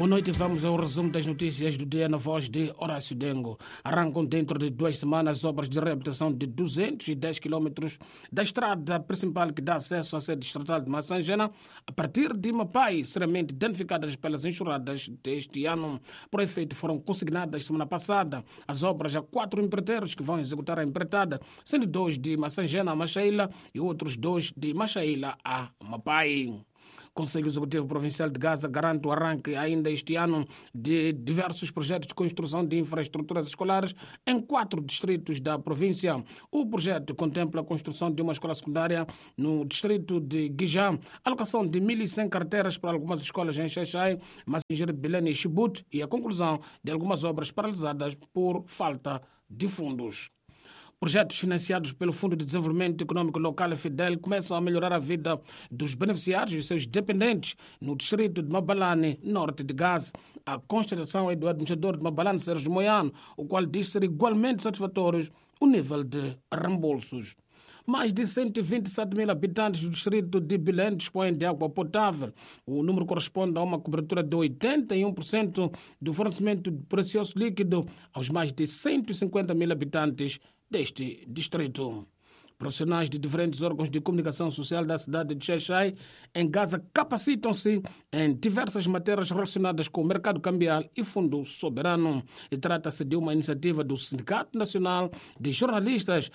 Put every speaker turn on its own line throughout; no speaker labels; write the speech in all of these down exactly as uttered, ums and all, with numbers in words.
Boa noite, vamos ao resumo das notícias do dia na voz de Horácio Dengo. Arrancam dentro de duas semanas as obras de reabilitação de duzentos e dez quilômetros da estrada principal que dá acesso à sede distrital de Massangena, a partir de Mapai, seriamente danificadas pelas enxurradas deste ano. Por efeito, foram consignadas semana passada as obras a quatro empreiteiros que vão executar a empreitada, sendo dois de Massangena a Machaila e outros dois de Machaila a Mapai. Conselho Executivo Provincial de Gaza garante o arranque ainda este ano de diversos projetos de construção de infraestruturas escolares em quatro distritos da província. O projeto contempla a construção de uma escola secundária no distrito de Guijá, alocação de mil e cem carteiras para algumas escolas em Xaixai, Massingir, Bilene e Chibute e a conclusão de algumas obras paralisadas por falta de fundos. Projetos financiados pelo Fundo de Desenvolvimento Econômico Local, FIDEL, começam a melhorar a vida dos beneficiários e seus dependentes no distrito de Mabalane, norte de Gaza. A constatação é do administrador de Mabalane, Sérgio Moiano, o qual diz ser igualmente satisfatório o nível de reembolsos. Mais de cento e vinte e sete mil habitantes do distrito de Bilene dispõem de água potável. O número corresponde a uma cobertura de oitenta e um por cento do fornecimento de precioso líquido aos mais de cento e cinquenta mil habitantes deste distrito. Profissionais de diferentes órgãos de comunicação social da cidade de Xaixai, em Gaza, capacitam-se em diversas matérias relacionadas com o mercado cambial e fundo soberano. E trata-se de uma iniciativa do Sindicato Nacional de Jornalistas,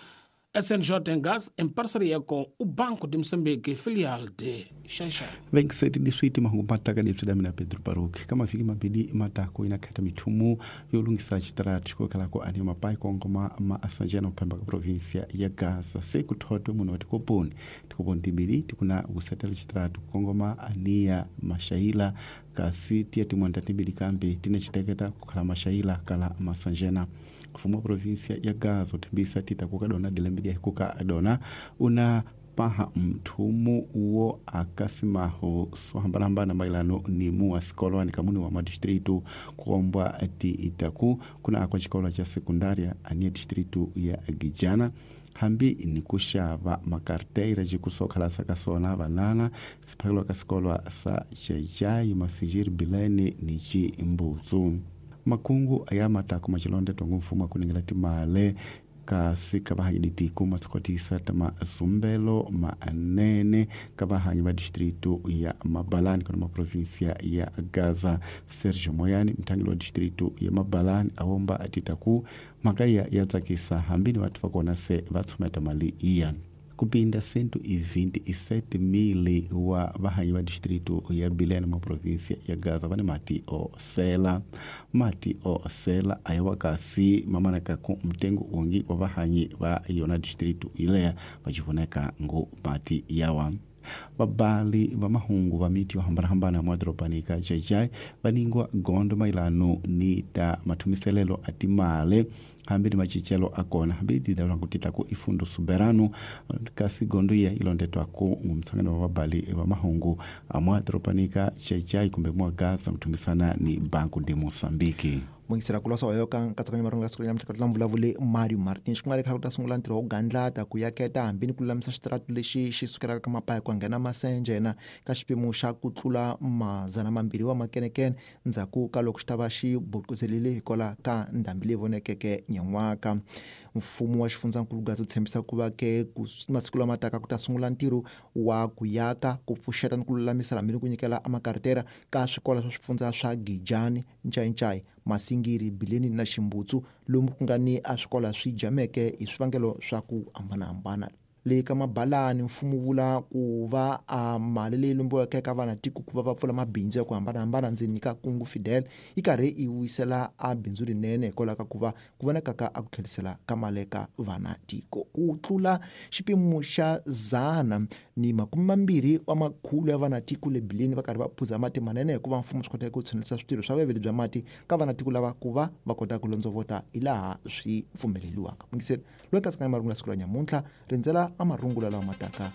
S N J em Gaza, em parceria com o Banco de Moçambique, filial de Xaixai.
Vem que sete de suíte mahungu mataka de tsudamina Pedro Baruch. Kama fiki mabili matako inakata mithumu yolungisa chitaratu chikokhala ko ani mapai kongoma ma asanjena uphemba ka província ya Gaza. Sekuthodwe muno tikoponi. Tikoponi tibili tikuna kusetela chitaratu kongoma ania mashaila kasi tiya timwanda tibili kambi tine chiteketa kukhala mashaila kala masanjena. Mfumo wa província ya Gaza uthembisa tita kukadona dilembedi kukadona una paha mthumu uwo akasimaho sohambalahambana mailano ni muwa sikolo ni kamuni wa madistritu kuombwa ti itaku kuna akwa chikolo cha sekundaria ania distritu ya Gijana hambi ni kuxava makarteira jikusokhala sakasona vanana siphakelwa ka sikolwa sa Xaixai, Massingir, Bilene ni Chimbutsu. Makungu aya matako machilonde tongo mfumo akuningela timale kasi ka ditiko masikotisa tama zumbelo manene ka vahanyi va distrito ya Mabalani kana maprovinsia ya Gaza. Sergio Moyani mthangeli wa distrito ya Mabalani awomba atitaku mhaka ya tsakisa hambini vathu va kona se va tshumeta mali iya kupinda cento e vinte e sete mil wa vahanyi va distrito ya Bilene ma província ya Gaza vane mati o sela mati o sela ayawa kasi mamanaka ku mtengo ungi wa vahanyi va yona distrito ileya vachivoneka ngo mati yawa. Vabali va mahungu va miti yo hambanahambana mwadorobani ka Xaixai va ningwa gondo mailano ni ta mathumiselelo a timale hambi ni macincelo a kona hambi tidalwa ku tita ku ifundo soberano kasi gondo iya ilondetwa ku mtsangano wa vabali va mahungu amwadorobani ka Xaixai kumbe mwa Gaza kuthumisana ni Banco de Moçambique.
Mungisera kulosa wayoka nkatsakanyo marungu siku nyamutlha ka vulavule Mario Martins ku nga ri khale ku ta sungula ntirho wo gandlata ku yaketa hambi ni ku lulamisa xitaratu lexi xi sukelaka ka Mapaya ku nghena Masenjena ka xiphemu xa ku tlula mazana mambirhi wa makenekene ndzhaku ka loko xi ta va xi bukuzelile hikwalaho ka ndhambi leyi vonekeke nyan'waka. Mfumo wa xifundzankulu Gaza tshembisa ku va ke masiku lama taka ku ta sungula ntirho wa ku yaka ku pfuxeta ni ku lulamisa hambi ni ku nyikela amakartera ka swikolo swa swifundza swa Gijani, Nchainchai, Masingiri, Bileni na Ximbutsu lomu ku nga ni a swikolo swi jameke hi swivangelo swa ku hambanahambana. Le ka Mabalani mfumo vula ku va a mali leyi lombiweke eka vana tiko ku va va pfula mabindzu ya ku hambanahambana ndzeni ka kungu Fidel yi karhi yi vuyisela a bindzu rinene hikwalaho ka ku va ku vonaka ka a ku tlherisela ka mali eka vana tiko. Ku tlula xipimo xa zana ni makume mambirhi wa makhulu ya vana tiko le Bileni va karhi va phuza mati manene hikuva mfumo swi koteke ku tshunelisa switirho swa vuveveli bya mati ka vana tiko lava ku va va kota ku londzovota hilaha swi pfumeleriwaka. Mungiseri loyi katsakanya marungu ya siku ra nyamuntlha rindzela amarungula lawa mataka.